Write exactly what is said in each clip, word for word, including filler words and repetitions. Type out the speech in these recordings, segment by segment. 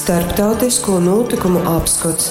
Starptautisko nūtykumu apskots.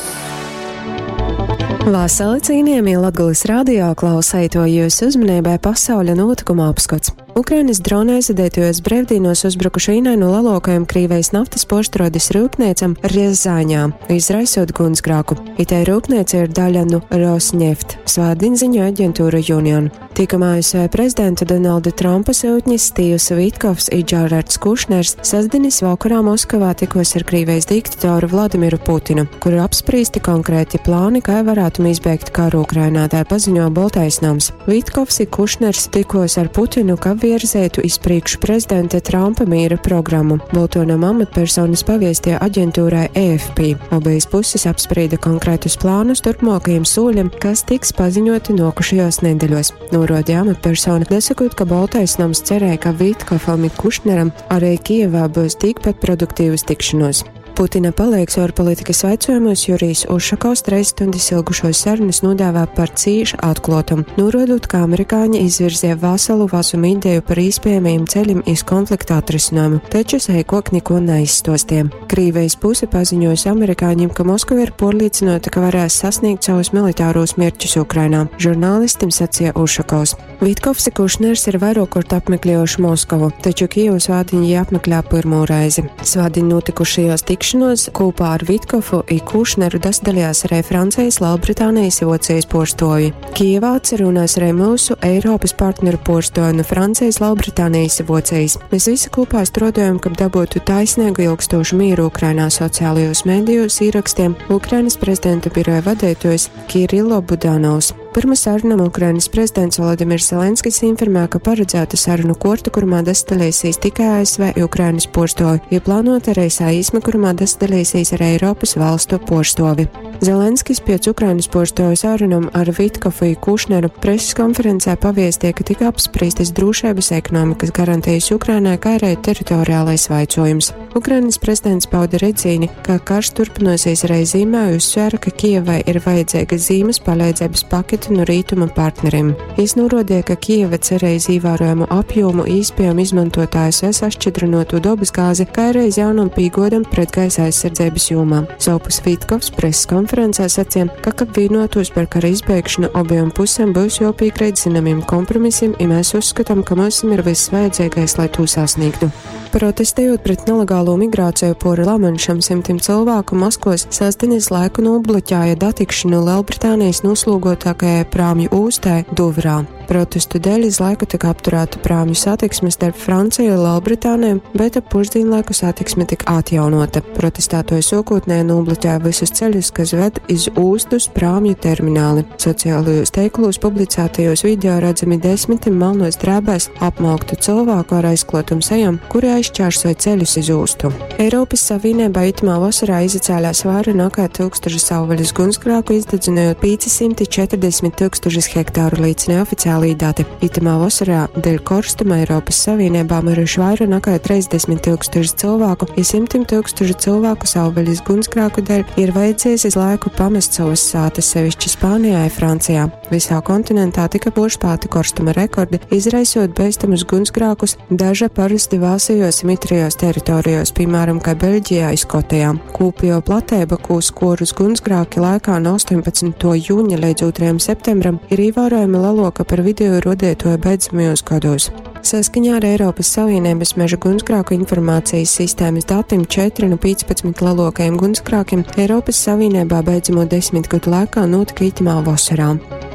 Vasali cīnījamie Latgales radio klausētoji, jūsu uzmanībai pasauļa notikuma apskats. Ukrainas drona aizvadītajos brīvdienos uzbrukuši vienai no lielākajām Krīvijas naftas porštrodes rūpniecam Rjazaņā, izraisot gunsgrāku. Itei rūpnīca ir daļa no Rosneft, svētdien ziņo aģentūra Union. Tikam A S V prezidenta Donalda Trumpa syutņis Stīvs Vitkovs i Džarards Kušners sestdienas vakarā Moskavā tikos ar Krīvijas diktatoru Vladimiru Putinu, kur apspriesti konkrēti plāni, kā varētu izbeigt karu Ukrainā, tā paziņo Boltais nams. Vitkovs i Kušners tikos ar Putinu, ka virzētu iz priekšu prezidenta Trumpa miera programmu. Bolto nama amatpersonas paviestīja aģentūrai A F P. Obejas puses apsprieda konkrētus plānus turpmākajiem soļiem, kas tiks paziņoti nokušajos nedēļos. Norādīja amatpersona, dasakot, ka Boltais nams cerēja, ka Vitkofam i Kušneram arī Kijevā būs tikpat produktīvas tikšanos. Putina palīgs ārpolitikas jautājumos Jurijs Ušakovs treis stundas ilgušos sarunas nodēvē par cīši atklotumu, norādot, ka amerikāņi izvirzīja veselu vazumu ideju par iespējamajiem ceļiem iz konflikta atrisinājumu, taču seikok neko neizstostīja. Krīvijas puse paziņojusi amerikāņiem, ka Moskava ir porlīdzinota, ka varēs sasniegt savus militāros mērķus Ukrainā, žurnālistim sacīja Ušakovs. Vitkovs i Kušners ir vairākkort apmeklējuši Moskavu, taču Kijevu svādiņ jī apmeklē pirmo reizi. Svādiņ notikušajos tikšanos kopā ar Vitkofu i Kušneru dalījās arī Francijas, Lielbritānijas i Vocijas porstovi. Kijevā atsarunās arī mūsu Eiropas partneru porstovi no Francijas, Lielbritānijas i Vocijas. Mēs visi kopā strādājam, kab dabūtu taisnīgu ilgstošu mieru Ukrainā, sociālajos medijos īrakstiem Ukrainas prezidenta biroja vadītājs Kirilo Budanovs. Pirma sarunam Ukrainas prezidents Volodimirs Zelenskis informē, ka paredzēta sarunu korta, kurumā dalīsies tikai A S V i Ukrainas porstovi, ja plānota arī saīsme, kurumā dalīsies arī Eiropas valstu porstovi. Zelenskis pēc Ukrainas porstovu sarunam ar Vitkofu i Kušneru preses konferencē paviestīja, ka tika apspriestas drošības ekonomikas garantijas Ukrainai, kā arī teritoriālais vaicojums. Ukrainas prezidents pauda redzīni, ka karš turpināsies arī zīmā, uzsvēra, ka Kijevai ir vajadzīga zīmes palīdzības pakete no rītuma partneriem. Jis norādīja, ka Kijeva cerēja ievērojamu apjomu īspējamu izmantot A S V sašķidrinoto dabas gāzi, kā arī jaunam pīgodam pret gaisa aizsardzības jomā. Sovpus Vitkovs preses konferencē sacīja, ka, kad vienotos par kara izbeigšanu, abiem pusēm būs jopīkrīt zināmiem kompromisiem, ja mēs uzskatām, ka mums ir viss vajadzīgais, lai to sasniegtu. Protestējot pret nelegālo migrāciju pori Lamanšam, simtiem cilvēku Maskos sestdienas laiku nobloķēja datikšanu Lielbritānijas noslūgotākajai prāmju ūstai Duvrā. Protestu dēļ iz laiku tika apturēta prāmju satiksme starp Franciju un Lielbritāniju, bet ap pusdienlaiku satiksme tika atjaunota. Protestētoji sokotnēji nobloķēja visus ceļus, kas ved iz ūstus prāmju termināli. Sociālajos teiklos publicētajos video redzami desmitiem melnos drēbēs apmauktu cilvēku ar aizklotum sejām, kuri aizšķērsoja ceļus iz ūstu. Eiropas Savienībā itamā vasarā izacēlās vaira nekā tūkstoši savvaļas gunsgrāku, izdedzinojot pieci simti četrdesmit tūkstošus hektāru, liecina oficiālī dati. Itamā vasarā dēļ korstuma Eiropas Savienībā miruši vaira nekā trīsdesmit tūkstoši cilvēku, ja simtiem tūkstošu cilvēku savvaļas gunsgrāku dēļ ir vajadzējis iz laiku pamest savas sātas, sevišķi Spānijā un Francijā. Visā kontinentā tika porspēti korstuma rekordi, izraisot bīstamus gunsgrākus daža parasti vāsajos mitrajos teritorijos, piemēram, kā Beļģijā i Skotijā. Kūpējo plateiba, kū skorus gunsgrāki laikā no astoņpadsmituo jūņa līdz otrajam septembram, ir ievērojami leloka par video rodētoju beidzamajos gados. Saskaņā ar Eiropas Savienības meža gunsgrāku informācijas sistēmas datiem četri no piecpadsmit lielākajiem gunsgrākiem Eiropas Savienībā beidzamo desmit gadu laikā notika itamā vasarā.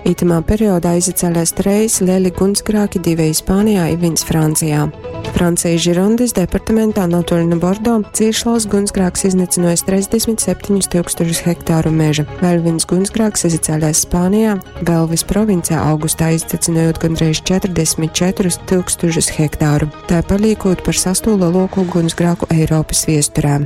Itamā periodā izacēlās treis lieli gunsgrāki, divi Spānijā i viens Francijā. Francijas Žirondes departamentā netoli no Bordo cīši liels gunsgrāks iznicinojis trīsdesmit septiņus tūkstošus hektāru meža. Vēl viens gunsgrāks izacēlās Spānijā, Belvis provincē augustā izdedzinojot gandrīz četrdesmit četrus tūkstošus hektāru, tā paliekot par sesto lielāko gunsgrāku Eiropas viesturē.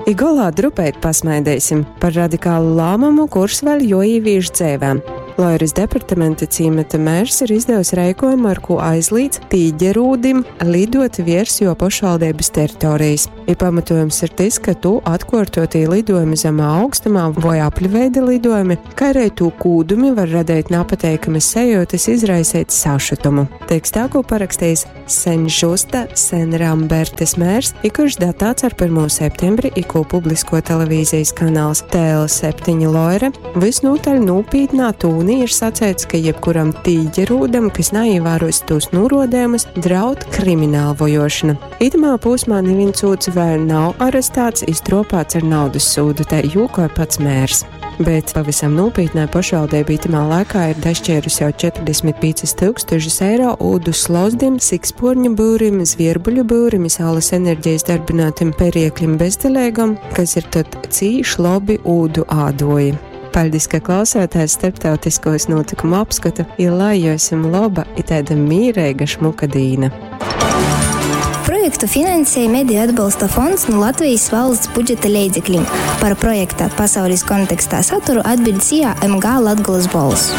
I golā drupeit pasmaidēsim par radikālu lāmumu, kurs vēl joīvīž dzēvēm. Loiras departamenta cīmata mērs ir izdevis reikojumu, ar ko aizlīdz tīģerūdim lidot viers jo pašvaldības teritorijas. I pamatojums ir tys, ka tū atkuortuotī lidojumi zemā augstumā voi apļveida lidojumi, kai arī tū kūdumi var radeit napateikamas sajūtas, izraiseit sašutumu. Tekstā, ko parakstījis Senžusta Senrambertes mērs, i kurš datāts ar pirmo septembri, i ko publisko televīzijas kanāls T L septiņi Loire, visnotaļ nopietnā tūnī ir sacēts, ka jebkuram tīģerūdam, kas neievēros tos norodējumus, draud krimināla vojošana. Itamā posmā neviens ūds vēl nav arestēts, iztropāts ar naudas sūdu, te jūkoja pats mērs. Bet pavisam nopietnē pašvaldība itamā laikā ir dašķērusi jau četrdesmit piecas tūkstošus eiro ūdu slozdim, siksporņu būrim, zvierbuļu būrim, saules enerģijas darbinātim perieklim bezdelēgam, kas ir tad cīš labi ūdu ādoji. Paldies, ka klausāties starptautiskos notikumu apskatu, ja lai jums laba i tāda mīreiga šmuka dīna. Projektu finansēja Mediju atbalsta fonds no Latvijas valsts budžeta leidzekļiem. Par projekta pasaules kontekstā saturu atbild S I A M G Latgales balss.